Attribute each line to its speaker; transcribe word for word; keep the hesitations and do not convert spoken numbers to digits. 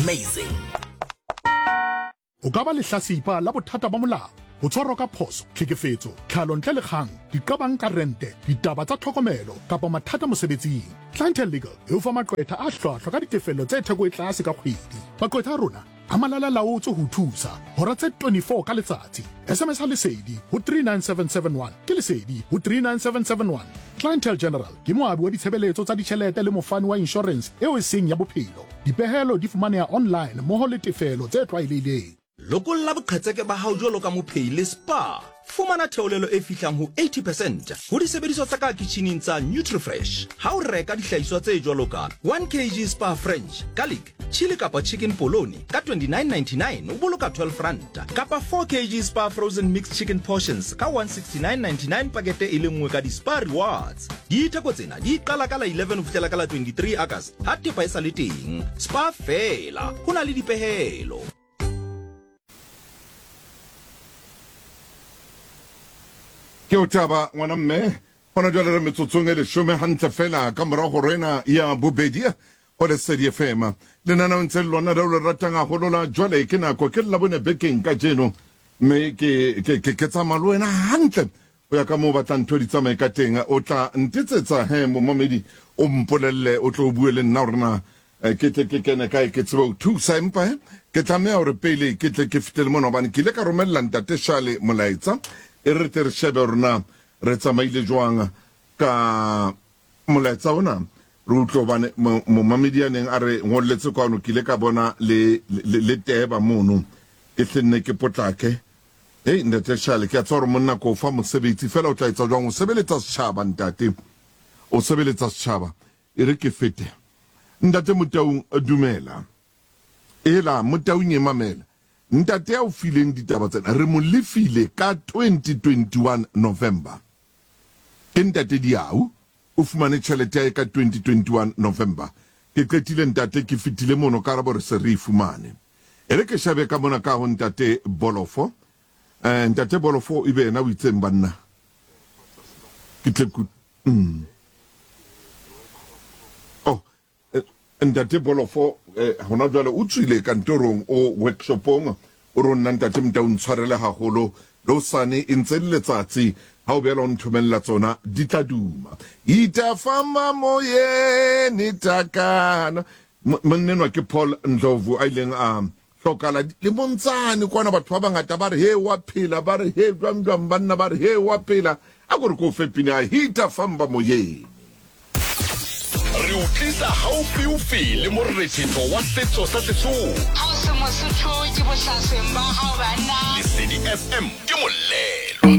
Speaker 1: Amazing.
Speaker 2: O ka ba lehlasipa la bothata ba molao, ho tshwarwa ka phoso, tlhekefetso, tlhalo ntle le kgang, diqabang ka rente, ditaba tsa tlhokomelo kapa mathata mosebetsing. Clientele Legal e o fa maqwetha a hlwahlwa ka ditefello tse theko e tlase ka kgwedi. Maqwetha a rona a malala laotswe ho thusa hora tse twenty-four ka letsatsi. S M S a Lesedi ho three nine seven seven one ke Lesedi ho three nine seven seven one. Clientele General ke moabi wa ditshebeletso tsa ditjhelete le mofani wa insurance eo e seng ya bophelo. Dipehelo di fumaneha online mmoho le tefelo tse tlwaelehileng.
Speaker 3: Lokolla boqhetseke ba hao jwalo ka mophehi le Spa. Fumana theolelo e fihlang ho eighty percent ho disebediswa tsa ka kitjhining tsa Nutrifresh. Ha o reka dihlahiswa tse jwalo ka one kilogram Spa French, garlic, chili kapa chicken polony ka twenty-nine ninety-nine o boloka twelve rand, kapa four kilograms Spa frozen mixed chicken portions ka one sixty-nine ninety-nine pakete e le nngwe ka di-Spa rewards. Ditheko tsena di qala ka la eleven ho fihlela ka la twenty-three August ha thepa e sa le teng. Spa fela, ho na le dipehelo.
Speaker 4: Ke o taba ngwana mme hona jwale re metsotsong e leshome hantle fela ka morao ho rena ya bobedi ho Lesedi F M. Lenaneong tse lona leo le ratang haholo la jwale ke nako ke Labone bekeng kajeno, mme ke ke ke ke tsamaya le wena hantle ho ya ka moo batlang ntho di tsamaye ka teng. O tla ntetsetsa he momamedi, o mpolelle, o tlo bue le nna hore na ke tle ke kene kae ke tsebe ho thusa, empa he ke tlameha hore pele ke tle ke fetele mona hobane ke ile ka romella ntate Shale molaetsa. E re tle re shebe hore na re tsamaile jwang ka molaetsa ona, re utlwe hobane momamedi ya neng a re ngolletse kwano ke ile ka bona le le teba mono, ke hle nne ke potlake. Hei ntate Shale, ke a tseba hore monna ko fa mosebetsi fela o tla etsa jwang, o sebeletsa setjhaba ntate, o sebeletsa setjhaba. E re ke fete. Ntate Motaung, dumela. Ela Motaung e mamela. Ntate a o fileng ditaba tsena re mo lefile ka twenty twenty-one November. Ke ntate Diau o fumane tjhelete ya ka twenty twenty-one November. Ke qetile ntate, ke fetile mono ka rabo re se re e fumane. E re ke shebe ka mona ka ho ntate Bolofo. Eh, ntate Bolofo ebe yena o itseng banna. Ke tle ku mm. Oh, ntate Bolofo eh, hona jwale o tswile kantorong o workshopong, o re nna ntate Motau ntshwarele haholo le hosane e ntse le letsatsi ha o beela o nthomella tsona di tla duma. Itafamba moyeni takana. Monnenwa ke Paul Ndlovu a ileng a hlokala le montsane kwana, batho ba bangata ba re he wa phela, ba re he jwang jwang banna, ba re he wa phela. A ko re ko fe pina Itafamba moyeni.
Speaker 1: Re o tlisa haufiufi le morethetho wa setso sa Sesotho.
Speaker 5: Ha o se Mosotho ke bohlasweng ba hao banna.
Speaker 1: Lesedi F M ke molemo.